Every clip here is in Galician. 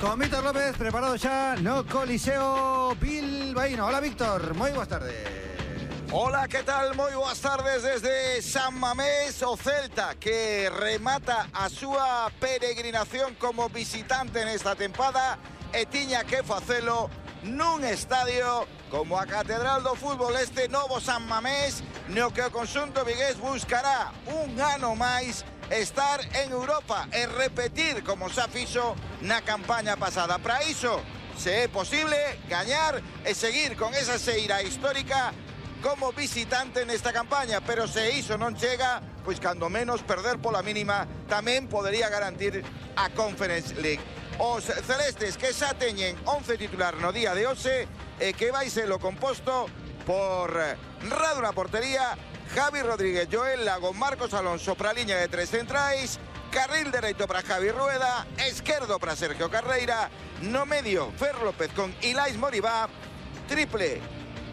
Con Víctor López, preparado xa no Coliseo Bilbaíno. Hola, Víctor, moi boas tardes. Hola, ¿qué tal? Moi boas tardes desde San Mamés. O Celta que remata a súa peregrinación como visitante nesta tempada e tiña que facelo nun estadio como a Catedral do Fútbol, este novo San Mamés, no que o conxunto vigués buscará un ano máis estar en Europa e repetir como xa fixo na campaña pasada. Para iso, se é posible, gañar e seguir con esa xeira histórica como visitante nesta campaña, pero se iso non chega, pois cando menos perder pola mínima tamén podería garantir a Conference League. Os celestes que xa teñen 11 titular no día de hoxe e que vai ser o composto por Radu na portería, Javi Rodríguez, Joel Lago, Marcos Alonso para a liña de tres centrais, carril dereito para Javi Rueda, esquerdo para Sergio Carreira, no medio Fer López con Ilais Moribá, triple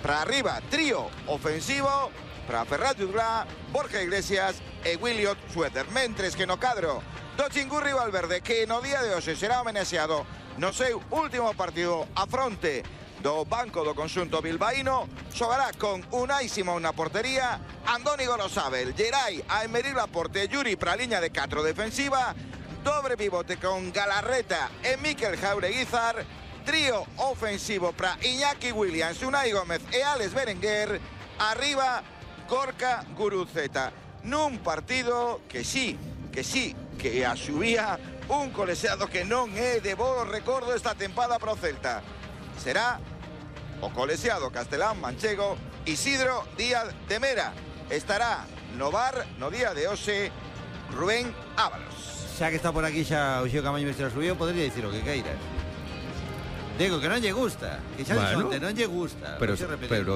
para arriba, trío ofensivo para Ferran Jutgla, Borja Iglesias e Williot Suéter, mentres que no cadro do Chingurri Valverde, que no día de hoxe será homenaxeado no seu último partido a fronte do banco do conxunto bilbaíno, xogará con Unai Simón na portería, Andoni Gorosabel, Geray, Aymeric Laporte, Yuri para a liña de 4 defensiva, dobre pivote con Galarreta e Mikel Jaureguizar, trío ofensivo para Iñaki Williams, Unai Gómez e Alex Berenguer, arriba Gorka Guruceta, nun partido que asubía un coleseado que non é de bo recordo esta tempada pro Celta. Será o coleseado castelán manchego Isidro Díaz de Mera. Estará no bar no día de hoxe Rubén Ábalos. Xa que está por aquí xa o Xeo Camaño me subiu, podría dicir o que queiras. Digo que non lle gusta, que xa bueno, non lle gusta. Pero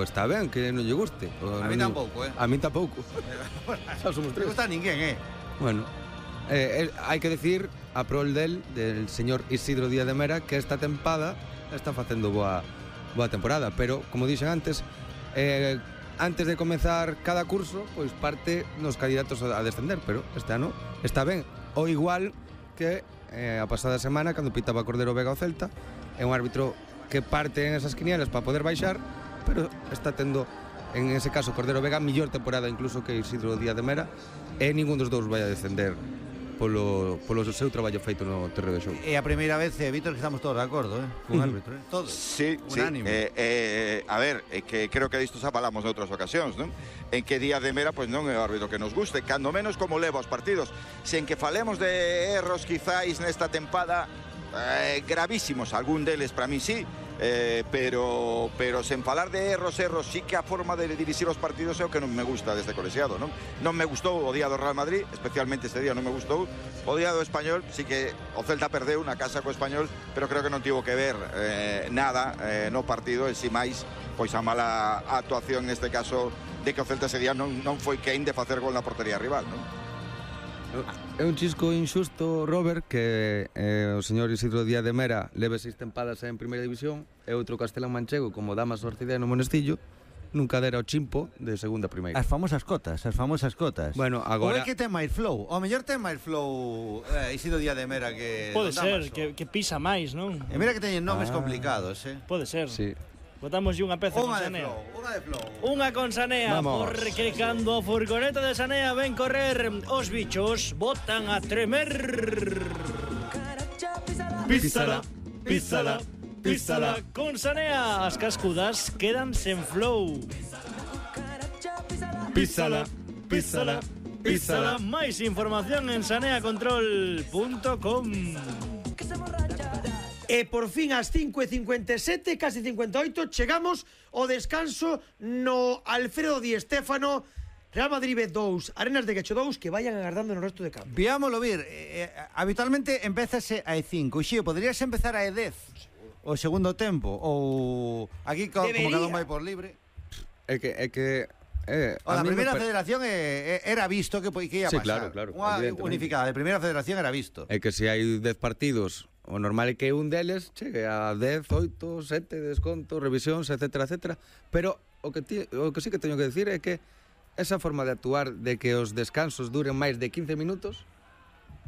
está ben que non lle guste. A mí tampouco, A mí tampouco. Xa somos tres. Non gusta a ninguén, Bueno, hai que decir a prol del señor Isidro Díaz de Mera que esta tempada está facendo boa temporada, pero como dixen antes, antes de comezar cada curso, pois parte nos candidatos a descender, pero este ano está ben. O igual que a pasada semana cando pitaba Cordero Vega o Celta, é un árbitro que parte en esas quinielas para poder baixar, pero está tendo en ese caso Cordero Vega mellor temporada incluso que Isidro Díaz de Mera, e ningún dos dous vai a descender polo seu traballo feito no terreo de xogo. É a primeira vez, Víctor, que estamos todos de acordo, con árbitro, todos. Sí, unánime. A ver, é que creo que disto xa falamos noutras ocasións, non? En que Díaz de Mera, pois non é o árbitro que nos guste, cando menos como leva os partidos. Sen que falemos de erros quizáis nesta tempada, gravísimos, algún deles para mí sí, pero sen falar de erros, sí que a forma de dirixir os partidos é o que non me gusta deste colexiado, non? Non me gustou o día do Real Madrid, especialmente este día non me gustou. O día do Español, sí que o Celta perdeu na casa co Español, pero creo que non tivo que ver nada no partido, e si máis, pois a mala actuación neste caso de que o Celta ese día non foi quen de facer gol na portería rival, non? É un chisco injusto, Robert, que o señor Isidro Díaz de Mera leve 6 tempadas en primeira división e outro castelán manchego como Damas Orcidea no Monestillo nunca dera o chimpo de segunda primeira. As famosas cotas. Bueno, agora... Ou é que ten máis flow? O mellor ten máis flow Isidro Díaz de Mera que... Pode ser, que pisa máis, non? E mira que teñen nomes complicados, Pode ser. Sí. Botamos unha peza con Sanea. Unha de flow. Unha con Sanea, porque cando a furgoneta de Sanea ven correr, os bichos botan a tremer. Písala, písala, písala con Sanea. As cascudas quedan sen flow. Písala, písala, písala. Máis información en saneacontrol.com. E por fin ás 5:57, casi 58, chegamos ao descanso no Alfredo Di Stéfano. Real Madrid 2, Arenas de Guecho 2, que vayan agardando no resto de campo. Viámoslo vir, habitualmente empezase a E5. Xío, poderías empezar a E10 o segundo tempo, ou aquí como cada un vai por libre. É que a primeira federación era visto que ia pasar. Claro, unha unificada de primeira federación era visto. É que se hai 10 partidos, o normal é que un deles chegue a 10, 8, 7, desconto, revisións, etcétera. Pero o que sí que teño que decir é que esa forma de actuar de que os descansos duren máis de 15 minutos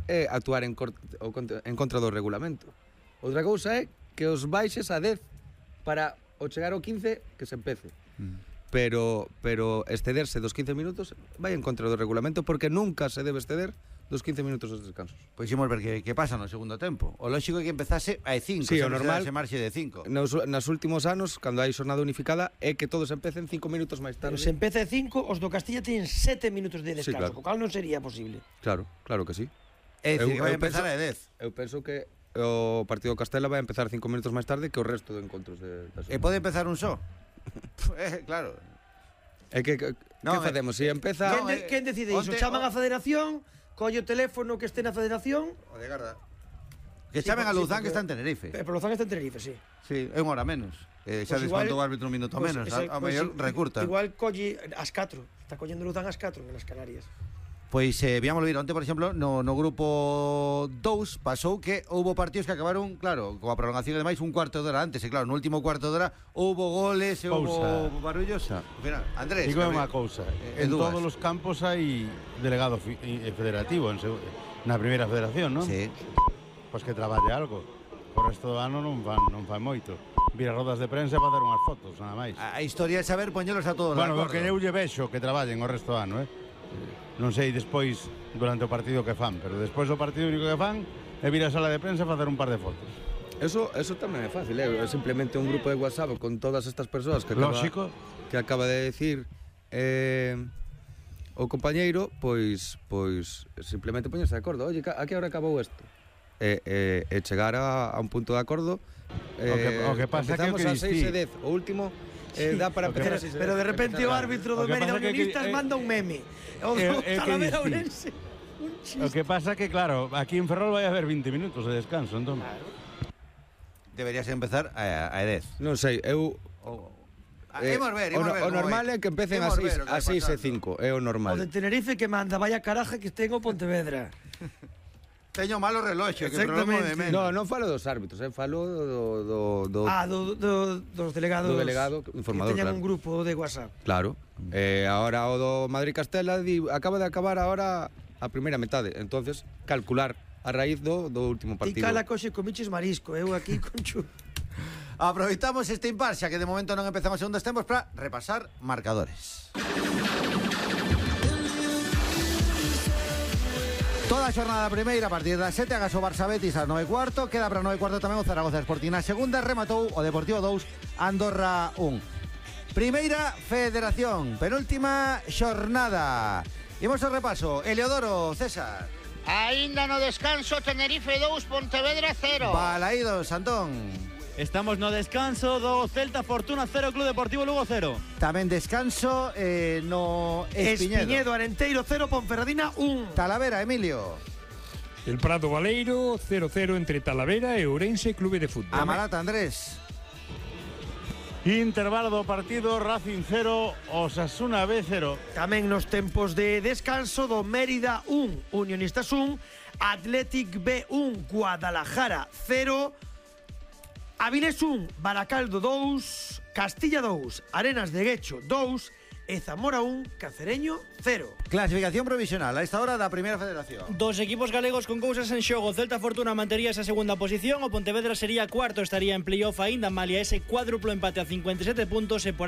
é actuar en contra do regulamento. Outra cousa é que os baixes a 10 para o chegar ao 15 que se empece. Pero excederse dos 15 minutos vai en contra do regulamento porque nunca se debe exceder dos 15 minutos dos descansos. Pois imos ver que pasa no segundo tempo. O lógico é que empezase a 5, Sí, o normal se marxe de 5. Nos últimos anos, cando hai xornada unificada, é que todos empecen 5 minutos máis Pero tarde. se empeza a 5, os do Castilla teñen 7 minutos de descanso, claro. co cal non sería posible. Claro que sí. É dicir, que vai Eu empezar penso- a 10. Eu penso que o partido do Castela vai empezar 5 minutos máis tarde que o resto de encontros da E pode empezar un só. Claro. É que No, facemos? Se empeza... No, Quen decide iso? Chaman a federación, colle o teléfono que este na federación, O de Garda. Que Sí, chamen a sí, Luzán porque- que está en Tenerife. pero Lozán está en Tenerife, sí. Sí, é unha hora menos. Xa Pois igual- descontou o árbitro un minuto Pois menos. ese- A pois mellor i- recurta. Igual colle as 4. Está collendo Luzán as 4 nas Canarias. Pois viámoslo ir onte, por exemplo, no grupo 2 pasou que houbo partidos que acabaron, claro, coa prolongación e demais un cuarto de hora antes, e claro, no último cuarto de hora houbo goles e houbo barullos. Ao final, Andrés, Digo que unha cousa, en en dúas. todos os campos hai delegado federativo na primeira federación, non? Sí. Pois que traballe algo. O resto do ano non fan moito. Vir a rodas de prensa e facer unhas fotos, nada máis. A historia é saber poñelos a todos Bueno, de o que acordo. eu lle vexo que traballen o resto do ano, Non sei despois durante o partido que fan, pero despois do partido único que fan é vir á sala de prensa e facer un par de fotos. Eso tamén é fácil, é simplemente un grupo de WhatsApp con todas estas persoas que Lógico. acaba de decir o compañeiro, pois simplemente poñerse de acordo. Oye, a que hora acabou isto? E chegar a un punto de acordo. O que pasa que o empezamos que a 6 e distí- 10. O último dá para empezar a 6 e 10. Pero de repente o árbitro do O que Mérida pasa que Unionistas manda un meme. O do que Talavera distí. Ourense. Un O chiste. que pasa que, claro, aquí en Ferrol vai haber 20 minutos de descanso, entón. Deberías empezar a 10. Non sei, eu Imos ver, o como normal vai. é que empecen Imos ver o que a vai 6 e pasando. 5, é o O de normal. Tenerife que manda, vaya caraja que ten o Pontevedra. Teño malo reloxo, que problema de menos. Non falo dos árbitros, falo do Dos delegados. Do delegado informador, que teñan claro. un grupo de WhatsApp. Claro. Ahora o do Madrid-Castela acaba de acabar ahora a primeira metade. Entonces, calcular a raíz do último Ti partido. cala coxe con miches marisco, eu aquí con chu. Aproveitamos este impar, xa que de momento non empezamos segundos tempos para repasar marcadores. Toda a xornada primeira a partir das 7 agas o Barça Betis ás 9:15, queda para 9:15 tamén o Zaragoza Sporting. Na segunda rematou o Deportivo 2, Andorra 1. Primeira Federación, penúltima xornada. Imos ao repaso. Eliodoro, César. Aínda no descanso, Tenerife 2, Pontevedra 0. Balaídos, Antón. Estamos no descanso do Celta Fortuna 0, Club Deportivo Lugo 0. Tamén descanso no Espiñedo. Espiñedo, Arenteiro 0, Ponferradina 1. Talavera, Emilio. El Prado Baleiro 0-0 entre Talavera e Ourense Clube de Fútbol. Amarata, Andrés. Intervalo do partido, Racing 0, Osasuna B 0. Tamén nos tempos de descanso do Mérida 1, Unionistas 1, Athletic B 1, Guadalajara 0, Avilés 1, Baracaldo 2, Castilla 2, Arenas de Guecho 2 e Zamora 1, Cacereño 0. Clasificación provisional a esta hora da Primeira Federación. Dos equipos galegos con cousas en xogo. Celta Fortuna mantería esa segunda posición. O Pontevedra sería cuarto, estaría en playoff aínda malia ese cuádruplo empate a 57 puntos e por